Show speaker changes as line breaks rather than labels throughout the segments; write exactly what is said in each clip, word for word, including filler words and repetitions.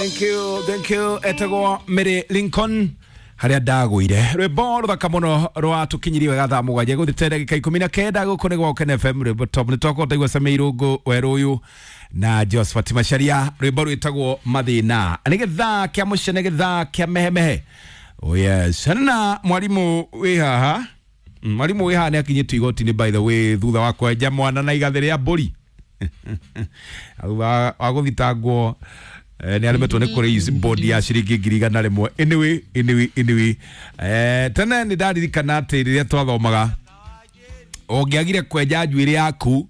Thank you, thank you. Etagwo Mary Lincoln haria ndagũire rwĩmbo rũthaka mũno rwatũkinyirie wega thaa mũgwanja gũthĩte ndagĩka ikũmi na kenda gũkũ nĩ gwa Ũkene F M rwĩmbo top nĩ twakorwo taigua Sammy Irũngũ werũ ũyũ na Josephat Macharia rwĩmbo rwĩtagwo Mathĩna. Nĩ gĩthaa kĩa mũcene, gĩthaa kĩa mehemehe. Oh yes, na mwarimũ wĩ haha, mwarimũ wĩ haha nĩ akinyĩtio igoti-inĩ by the way thutha wa kwenja mwana na igathĩ rĩa mbũri thutha wa gũthitangwo nĩ aremetwo nĩ kũraise bond ya ciringi ngiri igana rĩmwe. Anyway, anyway, anyway, eh, tene nĩ ndaririkana atĩ rĩrĩa twathomaga ũngĩagire kwenja njuĩrĩ yaku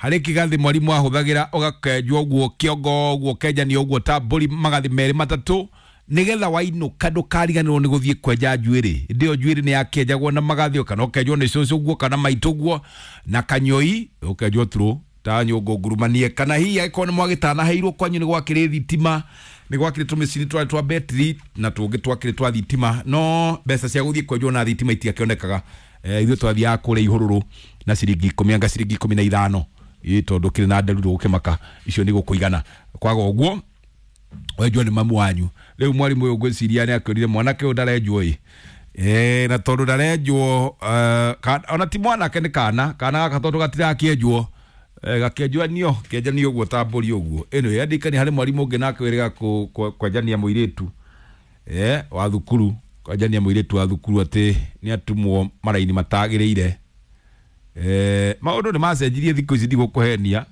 harĩ kĩgathĩ mwarimũ ahũthagĩra ũgakenjwo ũguo kĩongo ũguo ũkenjanio ũguo ta mbũri magathĩ merĩ matatũ nĩgetha wainũka ndũkariganĩrwo nĩ gũthiĩ kwenja njuĩrĩ. Hĩndĩ ĩyo njuĩrĩ nĩ yakĩenjagwo na magathĩ kana ũkenjwo nĩ cũcũ ũguo kana maitũ ũguo na kanyoi ũkenjwo tũrũ ta nyũngũ ngurumanie kana hihi angĩkorwo nĩ mwagĩtanaheirwo kwanyu nĩ gwakĩrĩ thitima nĩ gwakĩrĩ tũmĩcini twarĩ twa betri na tũngĩ twakĩrĩ twa thitima no mbeca cia gũthiĩ kwenjwo na thitima itiakĩonekaga. Eh, ithuĩ twathiaga kũrĩa ihũrũrũ na ciringi ikũmi anga ciringi ikũmi na ithano ĩ tondũ kĩrĩ na nderu ndũgũkĩmaka icio nĩ gũkũigana kwaga ũguo wenjwo nĩ mamu wanyu. Rĩu mwarimũ ũyũ ngwĩciria nĩ akĩũrire mwanake ũyũ ndarenjwo ĩ eh, na tondũ ndarenjwo uh, ona ti mwanake nĩ kana kana gaka tondũ gatirakĩenjwo eh, gakĩenjanio kĩenjanio ũguo ta mbũri ũguo. Anyway, andĩkani harĩ mwarimũ ũngĩ nake wĩrĩga kwenjania mũirĩtu eh, wa thukuru kwenjania mũirĩtu wa thukuru atĩ nĩ atumwo maraini matagĩrĩire. Eh, maũndũ nĩ macenjirie thikũ ici ndigũkũhenia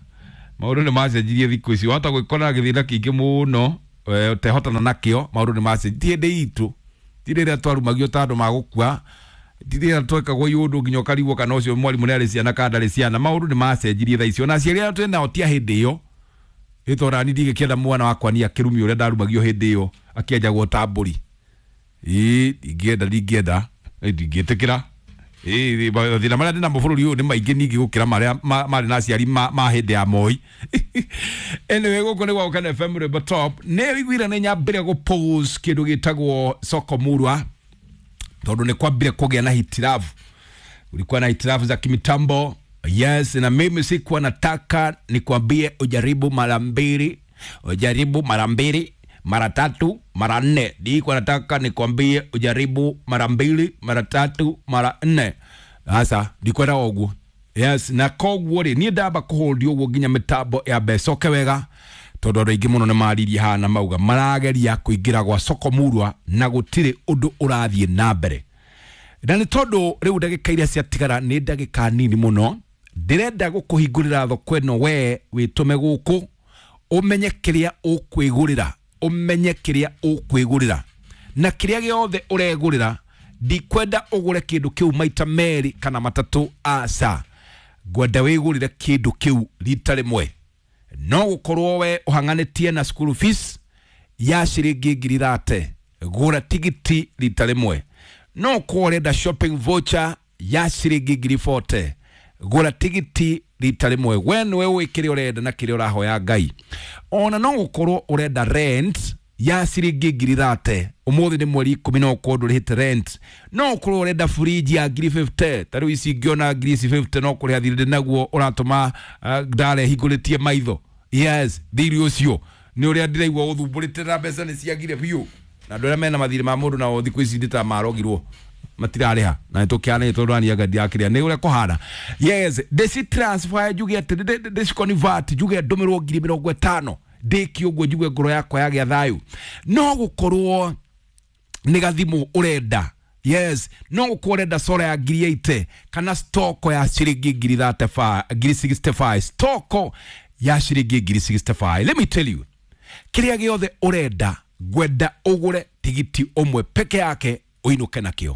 maũndũ nĩ macenjirie thikũ ici wahota gwĩkora gĩthĩna kĩingĩ mũno ũtehotana nakĩo. Maũndũ nĩ macenjirie ti hĩndĩ itũ ti rĩrĩa twarumagio ta andũ magũkua ti rĩrĩa twekagwo iũndũ nginya ũkarigwo kana ũcio mwarimũ nĩ arĩ ciana kana ndarĩ ciana. Maũndũ nĩ macenjirie thaa ici ona aciari arĩa twĩ nao ti a hĩndĩ ĩyo ĩ tondũ nani ndingĩkĩenda mwana wakwa niĩ akĩrumio ũrĩa ndarumagio hĩndĩ ĩyo akĩenjagwo ta mbũri. Ĩ ndingĩenda ndingĩenda ndingĩtĩkĩra. Ĩ mathĩna marĩa ndĩnamo bũrũri ũyũ nĩ maingĩ ningĩ gũkĩra marĩa marĩ na aciari ma hĩndĩ ya Moi. Anyway, gũkũ nĩ gwa Ũkene F M rwĩmbo top nĩ wĩiguire nĩ nyambĩrĩria gũ pause kĩndũ gĩtagwo soko murwa tondũ nĩ kwambire kũgĩa na hitilafu. Kulikuwa na hitilafu za kimitambo. Yes, na mimi sikuwa nataka nikwambie ujaribu mara mbili, ujaribu mara mbili, mara tatu, mara nne. Nilikuwa nataka nikwambie ujaribu mara mbili, mara tatu, mara nne. Sasa ndikwenda ũguo. Yes, na koguo rĩ niĩ ndamba kũhold ũguo nginya mĩtambo ya mbeca wega tondũ andũ aingĩ mũno nĩ maririe haha na mauga marageria kũingĩra gwa soko murwa na gũtirĩ ũndũ ũrathiĩ na mbere. Na nĩ tondũ rĩu ndagĩka iria ciatigara nĩ ndagĩka nini mũno ndĩrenda gũkũhingũrĩra thoko ĩno we wĩtũme gũkũ ũmenye kĩrĩa ũkwĩgũrĩra ũmenye kĩrĩa ũkwĩgũrĩra na kĩrĩa gĩothe ũregũrĩra ndikwenda ũgũre kĩndũ kĩu maita merĩ kana matatũ aca ngwenda wĩgũrĩre kĩndũ kĩu rita rĩmwe. No gũkorwo we ũhang'anĩtie na school fees ya ciringi ngiri thate gũra tigiti rita rĩmwe. No ũkorwo ũrenda shopping voucher ya ciringi ngiri forty gũra tigiti rita rĩmwe. We nĩwe ũĩ kĩrĩa ũrenda na kĩrĩa ũrahoya Ngai. Ona no gũkorwo ũrenda rent ya ciringi ngiri thate ũmũthĩ nĩ mweri ikũmi no ũkorwo ndũrĩhĩte rent. No ũkorwo ũrenda fridge ya ngiri fifty ta rĩu ici ingĩona ngiri ici fifty no kũrĩha thirĩ naguo ũratũma ndare hingũrĩtie maitho. Yes, thirĩ ũcio nĩ ũrĩa ndĩraigua ũthumbũrĩte na mbeca nĩ ciagire biũ na andũ arĩa mena mathirĩ ma mũndũ nao thikũ ici ndĩ marogirwo matirarĩha na nĩtũkĩanĩte tondũ anianga ndirakĩrĩa nĩ ũrĩa kũhana. Yes, ndĩci transfer njuge atĩ ndĩci convert njuge ndũmĩrwo ngiri mĩrongo ĩtano ndĩkie ũguo njigue ngoro yakwa yagĩa thayũ. No gũkorwo nĩ gathimũ ũrenda. Yes, no gũkorwo ũrenda solar ya ngiri eighty kana stoko ya ciringi ngiri thirty-five, ngiri sixty-five, stoko ya ciringi ngiri sixty-five. Let me tell you, kĩrĩa gĩothe ũrenda ngwenda ũgũre tigiti ũmwe peke yake ũinũke nakĩo.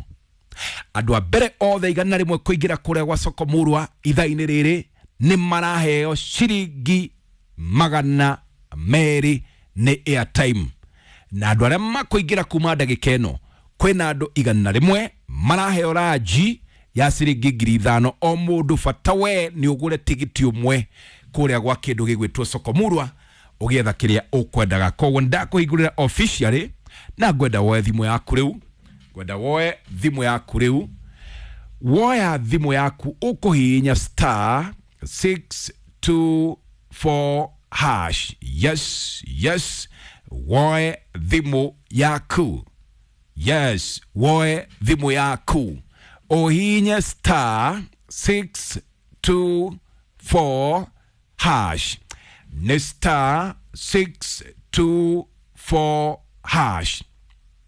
Andũ a mbere othe igana rĩmwe kũingĩra kũrĩa gwa soko murwa ithaa-inĩ rĩrĩ nĩ maraheo ciringi magana merĩ nĩ airtime na andũ arĩa makũingĩra kuma ndagĩka ĩno kwĩna andũ igana rĩmwe maraheo ranji ya ciringi ngiri ithano o mũndũ bata we nĩ ũgũre tigiti ũmwe kũrĩa gwa kĩndũ gĩgwĩtwo soko murwa ũgĩetha kĩrĩa ũkwendaga. Koguo ndakũhingũrĩra officially na ngwenda woe thimũ yaku rĩu ngwenda woe thimũ yaku rĩu woya thimũ yaku ũkũhihinya star six two four hash. Yes, yes. Woe thimũ yaku. Yes, woe thimũ yaku ũhihinye star six two four hash. Nĩ star six two four hash.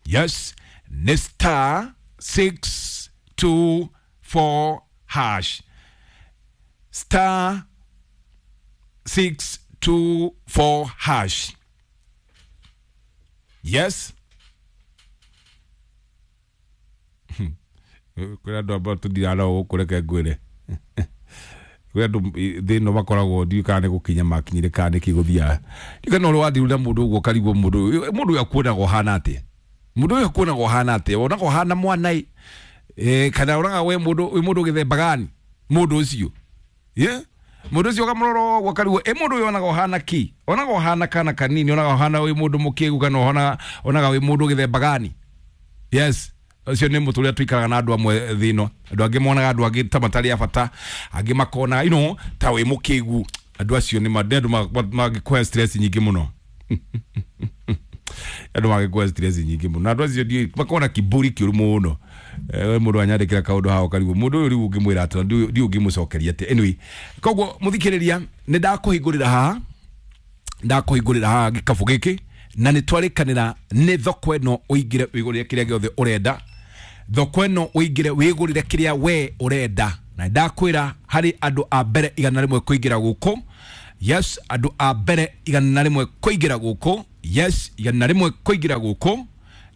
Yes, nĩ star six two four hash. Star six two four hash. Yes. Kwä andå amba tå ndiraga gå kå reke ngwä re kwä andå thä no makoragwo ndiå kana nä gå kinya makinyire kana nä kä gå thiaga ndiå kana å rä wathiru na må ndå å guo karigwo må ndå må ndå å yå akuonaga å hana atä må ndå å yå akuonaga å hana atä wonaga å hana mwana ä kana onaga we må ndå wä må ndå gä themba gani må ndå å cio må ndå å cio kamå ũguo karigwo ä må ndå å yå onaga å hana ki onaga å hana kana kanini onaga å hana wä må ndå må kä gu kana onaga wä må ndå gä themba gani. Yes, ũcio nĩ mũtũ ũrĩa tũikaraga na andũ amwe thĩ ĩno. Andũ angĩ monaga andũ angĩ ta matarĩ a bata, angĩ makona you know, ta wĩ mũkĩgu. Andũ acio nĩ andũ mangĩkũhe stress nyingĩ mũno. Andũ mangĩkũhe stress nyingĩ mũno. Na andũ acio ndiũĩ makona kiburi kĩũru mũno. We mũndũ anyandĩkĩra kaũndũ haha ũkarigwo mũndũ ũyũ rĩu ũngĩmwĩra atĩa, ndiũĩ ũngĩmũcokeria atĩa. Anyway, koguo mũthikĩrĩria nĩ ndakũhingũrĩra haha, ndakũhingũrĩra haha gĩkabũ gĩkĩ na nĩ twarĩkanĩra nĩ thoko ĩno ũingĩre wĩgũrĩre kĩrĩa gĩothe ũrenda. Thoko ĩno ũingĩre wĩgũrĩre kĩrĩa we ũrenda. Na ndakwĩra harĩ andũ a mbere igana rĩmwe kũingĩra gũkũ. Yes, andũ a mbere igana rĩmwe kũingĩra gũkũ. Yes, igana rĩmwe kũingĩra gũkũ.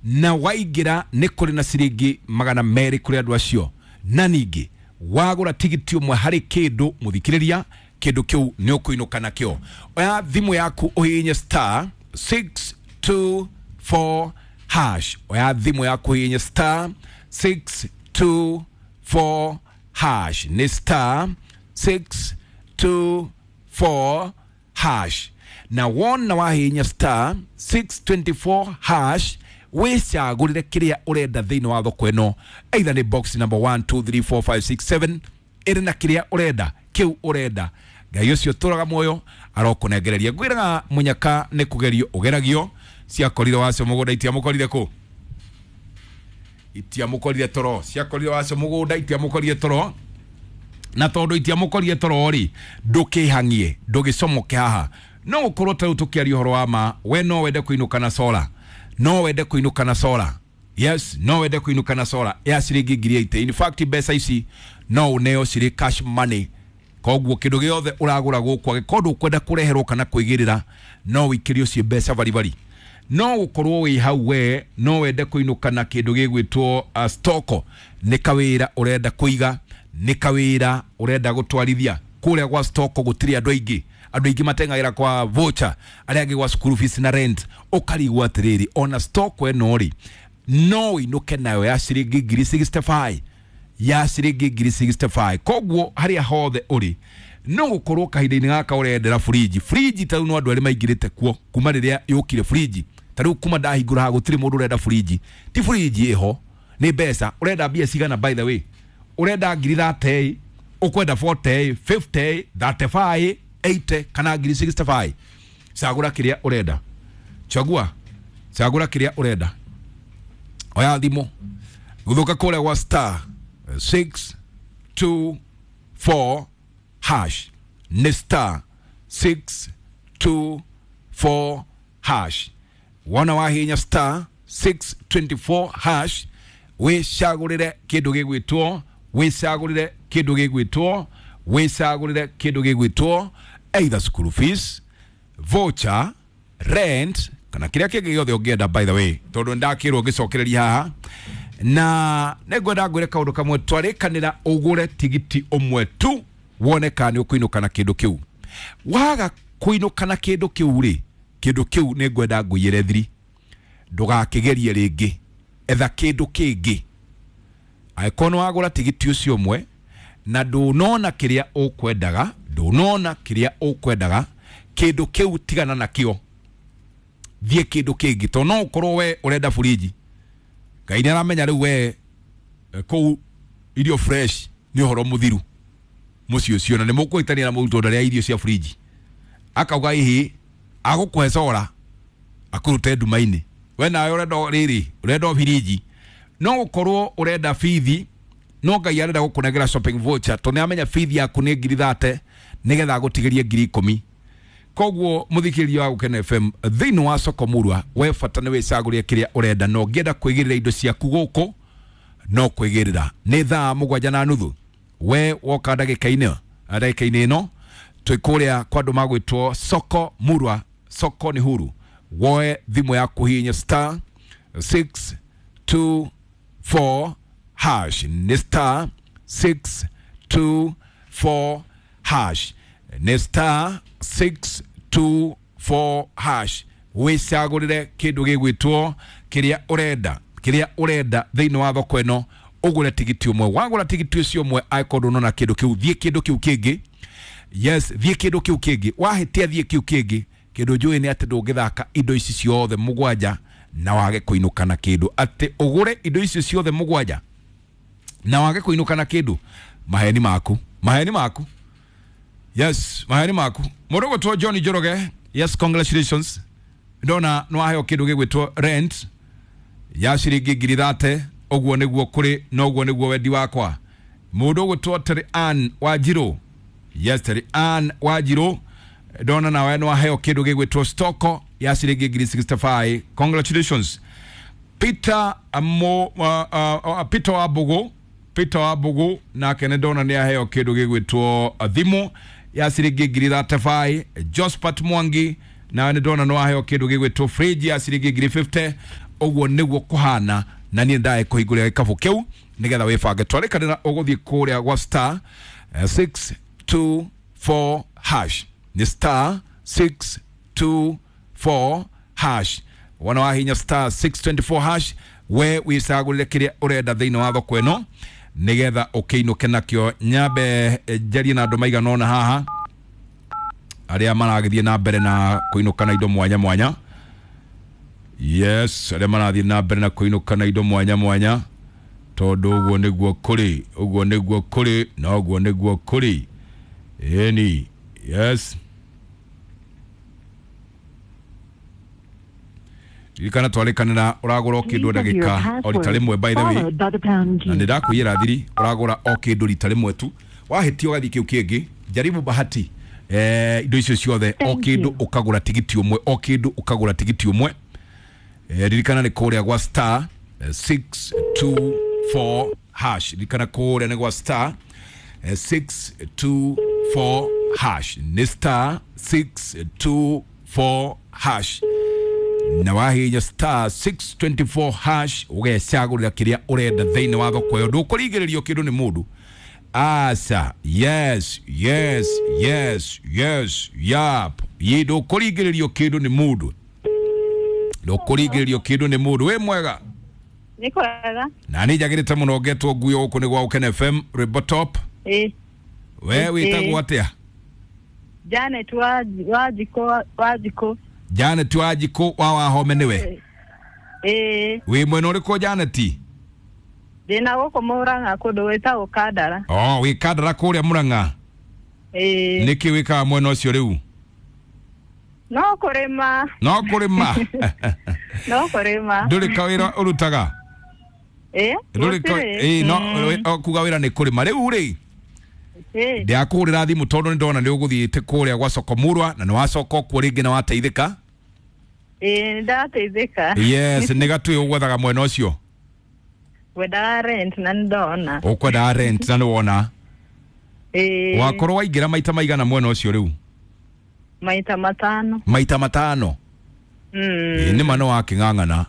Na waingĩra nĩ kũrĩ na ciringi magana merĩ kũrĩ andũ acio. Na ningĩ wagũra tigiti ũmwe harĩ kĩndũ mũthikĩrĩria, kĩndũ kĩu nĩ ũkũinũka nakĩo. Oya thimũ yaku ũhihinye star six two four hash. Oya thimũ yaku ũhihinye star six two four hash. Nĩ star six two four hash. Na wona wahihinya star six twenty-four hash wĩcagũrĩre kĩrĩa ũrenda thĩinĩ wa thoko ĩno, either nĩ box number one two three four five six seven ĩrĩ na kĩrĩa ũrenda kĩu ũrenda. Ngai ũcio tũraga muoyo arokũnengereria. Ngwĩraga mũnyaka nĩ kũgerio ũgeragio. Ciakorire wacio mũgũnda itiamũkorire kũ? Itiamũkorire toro. Ciakorire wacio mũgũnda itiamũkorire toro. Na tondũ itiamũkorire toro rĩ, ndũkĩhang'ie, ndũgĩcomoke haha. No gũkorwo ta rĩu tũkĩaria ũhoro wa ma, we no wende kũinũka na solar. No wende kũinũka na solar. Yes, no wende kũinũka na solar ya ciringi ngiri eighty. In fact mbeca ici no ũneo cirĩ cash money. Koguo kĩndũ gĩothe ũragũra gũkũ angĩkorwo ndũkwenda kũreherwo kana kwĩgĩrĩra no wĩikĩrio ciĩ mbeca baribari. No gũkorwo wĩ hau we no wende kũinũka na kĩndũ gĩgwĩtwo uh, stoko. Nĩ kawĩra ũrenda kũiga, nĩ kawĩra ũrenda gũtwarithia. Kũrĩa gwa stoko gũtirĩ andũ aingĩ, andũ aingĩ mateng'agĩra kwa voucher, arĩa angĩ gwa school fees na rent. Ũkarigwo atĩrĩrĩ, ona stoko ĩno rĩ no ũinũke nayo ya ciringi ngiri sixty-five, ya ciringi ngiri sixty-five. Koguo harĩa hothe ũrĩ no gũkorwo kahinda-inĩ gaka ũrendera fridge. Fridge ta rĩu no andũ arĩa maingĩrĩte kuo kuma rĩrĩa yũkire fridge. Ta rĩu kuma ndahingũra haha gũtirĩ mũndũ ũrenda fridge. Ti fridge ĩho, nĩ mbeca. Ũrenda mbia cigana by the way? Ũrenda ngiri thirty, ũkwenda forty, fifty, thirty-five, eighty kana ngiri sixty-five. Cagũra kĩrĩa ũrenda. Chagua, cagũra kĩrĩa ũrenda. Oya thimũ gũthũka kũrĩa gwa star six two four hash. Nĩ star six two four hash. Wona wahinya star six twenty-four hash wĩcagũrĩre kĩndũ gĩgwĩtwo, wĩcagũrĩre kĩndũ gĩgwĩtwo, wĩcagũrĩre kĩndũ gĩgwĩtwo either school fees, voucher, rent kana kĩrĩa kĩngĩ gĩothe ũngĩenda by the way, tondũ ndakĩrwo ngĩcokereria haha. Na nĩngwenda ngwĩre kaũndũ kamwe, twarĩkanĩra ũgũre tigiti ũmwe tu wone kana nĩ ũkũinũka na kĩndũ kĩu. Waga kũinũka na kĩndũ kĩu rĩ, kĩndũ kĩu nĩngwenda ngũiyĩre thiri, ndũgakĩgerie rĩngĩ, etha kĩndũ kĩngĩ. Angĩkorwo nĩ wagũra tigiti ũcio ũmwe na ndũnona kĩrĩa ũkwendaga, ndũnona kĩrĩa ũkwendaga, kĩndũ kĩu tigana nakĩo, thiĩ kĩndũ kĩngĩ. Tondũ no ũkorwo we ũrenda fridge, Ngai nĩ aramenya rĩu we kũu irio fresh nĩ ũhoro mũthiru mũciĩ ũcio, na nĩ mũkũhĩtania na mũrutwo ndarĩa irio cia fridge, akauga ihi agũkũhe solar Akurute nduma-inĩ. We nawe ũrenda rĩrĩ, ũrenda firiji. No gũkorwo ũrenda bithi, no Ngai arenda gũkũnengera shopping voucher tondũ nĩamenya bithi yaku nĩ ngiri thate nĩgetha agũtigĩrie ngiri ikũmi. Koguo mũthikĩrĩria wa Gũkena F M thĩinĩ wa soko murwa, we bata nĩ wĩcagũrie kĩrĩa ũrenda, na ũngĩenda kwĩgĩrĩra indo ciaku gũkũ no kwĩgĩrĩra. Nĩ thaa mũgwanja na nuthu, we woka ndagĩka-inĩ ndagĩka-inĩ ĩno twĩ kũrĩa kwa andũ magwĩtwo soko murwa. Soko ni huru. Woe thimũ yaku hihinya star six two four hash. Ni star six two four hash. Ni star six two four hash. Wĩcagũrĩre kĩndũ gĩgwĩtwo kĩrĩa ũrenda, kĩrĩa ũrenda thĩinĩ wa thoko ĩno, ũgũre tigiti ũmwe. Wagũra tigiti ũcio ũmwe, angĩkorwo ndũnona kĩndũ kĩu, thiĩ kĩndũ kĩu kĩngĩ. Yes, thiĩ kĩndũ kĩu kĩngĩ. Wahĩtia thiĩ kĩu kĩngĩ. Kĩndũ njũĩ nĩ atĩ ndũngĩthaka indo ici ciothe mũgwanja na wage kũinũka na kĩndũ. Atĩ ũgũre indo icio ciothe mũgwanja na wage kũinũka na kĩndũ, maheni maku, maheni maku. Yes, maheni maku. Mũndũ ũgwĩtwo John Njoroge, yes, congratulations. Ndona nĩ waheo kĩndũ gĩgwĩtwo rent ya ciringi ngiri thate. Ũguo nĩguo kũrĩ na ũguo nĩguo wendi wakwa. Mũndũ ũgwĩtwo Terry Ann Wanjirũ, yes, Terry Ann Wanjirũ, ndona nawe nĩ waheo kĩndũ gĩgwĩtwo stoko ya ciringi ngiri sixty five. Congratulations. Peter Mo, uh, uh, uh, Peter Wabugu, Peter Wabugu nake nĩ ndona nĩ aheo kĩndũ gĩgwĩtwo thimũ ya ciringi ngiri thirty five. Josephat Mwangi nawe nĩ ndona nĩ waheo kĩndũ gĩgwĩtwo fridge ya ciringi ngiri fifty. Ũguo nĩguo kũhana, na niĩ ndae kũhingũrĩra gĩkabũ kĩu nĩgetha wĩbange. Twarĩkanĩra ũgũthiĩ kũrĩa gwa star six two four hash. Ni star six two four hash. Wana wahinya star six twenty four hash, we wĩcagũrĩre kĩrĩa ũrenda thĩinĩ wa thoko ĩno nĩgetha ũkĩinũke nakĩo. Nyambe njarie na andũ maigana ũna haha arĩa maragĩthiĩ na mbere na kũinũka na indo mwanya mwanya. Yes, arĩa marathiĩ na mbere na kũinũka na indo mwanya mwanya, tondũ ũguo nĩguo kũrĩ, ũguo nĩguo kũrĩ na ũguo nĩguo kũrĩ. Ĩni, yes. Ririkana twarĩkanĩra ũragũra o kĩndũ ndagĩka o rita rĩmwe, by the way, na nĩ ndakwĩra thiri, ũragũra o kĩndũ rita rĩmwe tu, wahĩtia ũgathiĩ kĩu kĩngĩ. Jaribu bahati eh, indo icio ciothe, o kĩndũ ũkagũra tigiti ũmwe, o kĩndũ ũkagũra tigiti ũmwe. Eh, ririkana nĩ kũrĩa gwa star six two four hash. Ririkana kũrĩa nĩ gwa star six two four hash. Nĩ star six two four hash. Na wahinya star six twenty four hash ũgecagũrĩra kĩrĩa ũrenda thĩinĩ wa thoko ĩyo. Ndũkũringĩrĩrio kĩndũ nĩ mũndũ. Asa, yes, yes, yes, yes, yap. Ye ndũkũringĩrĩrio kĩndũ nĩ mũndũ. Ndũkũringĩrĩrio kĩndũ nĩ mũndũ. Wĩ mwega?
Nĩ kwega.
Na nĩ njagĩrĩte mũno ngetwo nguo gũkũ nĩ gwa Gũkena F M Rwĩmbo Top.
Ĩ.
We wĩtagwo atĩa?
Janet Wanjikũ, Wanjikũ.
Janet Wanjikũ wa Wahome nĩwe?
Ĩ.
Wĩ mwena ũrĩkũ Janet?
Ndĩna gũkũ Mũrang'a kũndũ gwĩtagwo Kandara.
Oh, wĩ Kandara kũrĩa Mũrang'a?
Ĩ.
Nĩkĩ wĩkaga mwena ũcio rĩu?
No kũrĩma.
No kũrĩma.
No kũrĩma.
Ndũrĩ kawĩra ũrutaga?
Ĩ.
Ndũrĩ ka ĩ no kuga wĩra nĩ kũrĩma rĩu rĩ.
Ĩ.
Ndakũhũrĩra thimũ tondũ nĩ ndona nĩ ũgũthiĩte kũrĩa gwa soko murwa na nĩ wacoka kuo rĩngĩ na wateithĩka.
Ĩ, ndateithĩka.
Yes, nĩ gatũĩ ũgwethaga mwena ũcio.
Ngwendaga rent na nĩndona.
Ũkwendaga rent na nĩwona.
Ĩ.
Wakorwo waingĩra maita maigana mwena ũcio rĩu?
Maita matano.
Maita matano?
Mm.
Ĩ, nĩ ma nĩ wakĩng'ang'ana.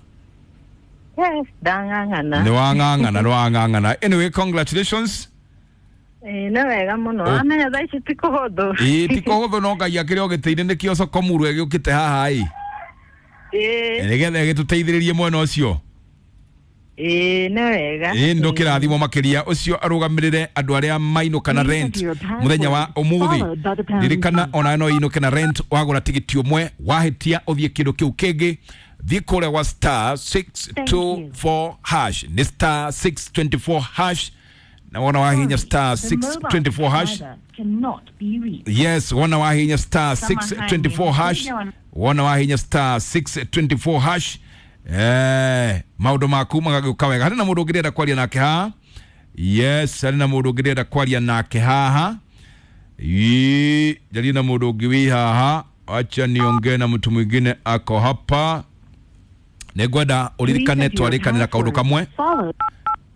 Yes, ndang'ang'ana.
Nĩ wang'ang'ana, nĩ wang'ang'ana. Anyway, congratulations.
Ĩ, nĩ wega mũno. Amenya thaa ici ti kũhũthũ.
Ĩ, ti kũhũthũ no Ngai akĩrĩ o gĩtĩ-inĩ nĩkĩo soko murwa ĩgĩũkĩte haha ĩ.
Ĩ.
Nĩgetha ĩgĩtũteithĩrĩrie mwena ũcio.
Ĩ, nĩ wega.
Ĩ, ndũkĩrathimwo makĩria. Ũcio arũgamĩrĩre andũ arĩa mainũka na rent mũthenya wa ũmũthĩ. Ririkana ona no inũke na rent wagũra tigiti ũmwe, wahĩtia ũthiĩ kĩndũ kĩu kĩngĩ. Thiĩ kũrĩa gwa star six two four hash. Nĩ star six twenty four hash. Na wona wahinya star
The
six
mobile
twenty four hash.
subscriber cannot be reached.
Yes, wona wahinya star six twenty four hash, wona wahinya star six twenty four hash, eh maundu maku magagĩũka wega. Harĩ na mũndũ ũngĩrenda kwaria nake haha? Yes, harĩ na mũndũ ũngĩrenda kwaria nake haha. Ii, njarie na mũndũ ũngĩ wĩ haha. Acha niongee na mtu mwingine ako hapa. Nĩngwenda ũririkane
Please enter your
twarĩkanĩra kaũndũ
password,
kamwe
followed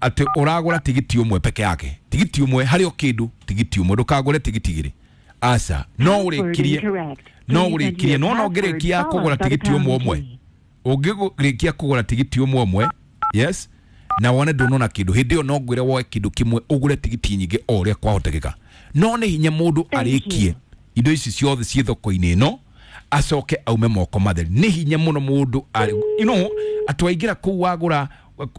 atĩ ũragũra tigiti ũmwe peke yake, tigiti ũmwe harĩ o kĩndũ, tigiti ũmwe, ndũkagũre tigiti igĩrĩ, aca. No
Password
ũrĩkirie
incorrect.
no
Please enter
ũrĩkirie
your
no no
password
ũngĩrĩkia
followed
kũgũra
by the
tigiti ũmwe
pound
ũmwe
key.
ũngĩrĩkia kũgũra tigiti ũmwe ũmwe, yes, na wone ndũnona kĩndũ hĩndĩ ĩyo, no ngwĩre woe kĩndũ kĩmwe ũgũre tigiti nyingĩ o ũrĩa kwahotekeka. No nĩ hinya mũndũ
Thank
arĩkie
you.
indo ici ciothe ciĩ thoko-inĩ ĩno acoke aume moko matheri. Nĩ hinya mũno mũndũ arĩ you know atĩ waingĩra kũu wagũra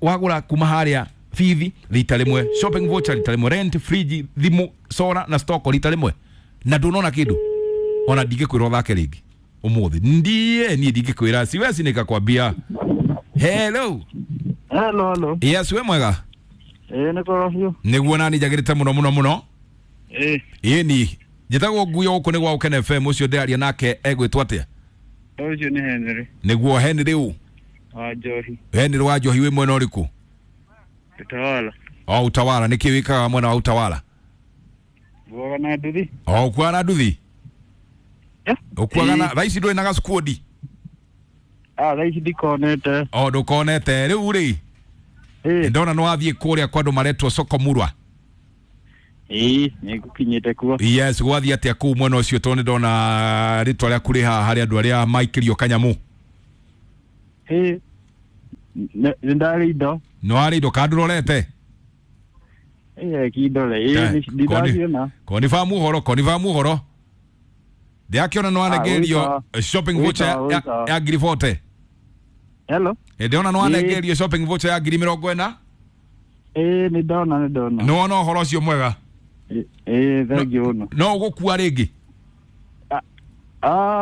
wagũra kuma harĩa bithi rita rĩmwe, shopping voucher rita rĩmwe, rent, fridge, thimũ, solar na stock rita rĩmwe, na ndũnona kĩndũ, ona ndingĩkwĩra ũthake rĩngĩ ũmũthĩ. Ndiĩ niĩ ndingĩkwĩra, siwezi nikakwambia. Hello.
Hello, hello.
Yes, we mwega?
Ĩĩ, nĩ kwega biũ.
Nĩguo nani njagĩrĩte mũno mũno mũno.
Ĩĩ.
Ĩni njĩtagwo Nguyo, gũkũ nĩ gwa Ũkene F M. Ũcio ndĩraria nake egwĩtwo atĩa?
Ũcio nĩ Henry
Nĩguo Henry ũ?
Wa Njohi.
Henry wa Njohi, wĩ mwena ũrĩkũ?
Utawala.
O Utawala. Nĩkĩ wĩkaga mwena wa Utawala?
Nguaga na nduthi.
O ũkuaga na nduthi?
Eh?
Ũkuaga na
Ĩĩ.
thaa ici ndũrĩ na gacukundi?
Ah, thaa ici ndikonete.
O ndũkonete rĩu rĩ?
Ĩĩ.
Ndona nĩ wathiĩ kũrĩa kwa andũ maretwo Sokomurwa.
Ĩĩ, nĩ ngũkinyĩte kuo.
Yes, gwathiĩ atĩa kũu mwena ũcio, tondũ nĩ ndona rĩtwa rĩaku rĩ haha harĩ andũ arĩa maikĩrio kanyamũ?
Ĩĩ. Nĩ nĩ ndarĩ indo.
Nĩ warĩ indo kana ndũrorete?
Ĩĩ, kindore. Ĩĩ,
Eh,
ndiraciona.
Konifamu ũhoro, konifamu ũhoro, ndĩrakĩona nĩ wanengerio
wĩta.
shopping
Wĩta,
voucher ya-
wĩta.
ya ngiri forty.
Hello.
Ndĩrona nĩ wanengerio shopping voucher ya ngiri mĩrongo ĩna.
Ĩĩ, nĩ ndona, nĩ ndona.
Nĩ wona ũhoro ũcio mwega?
Ĩĩ, thank you mũno.
No ũgũkua rĩngĩ?
Ah.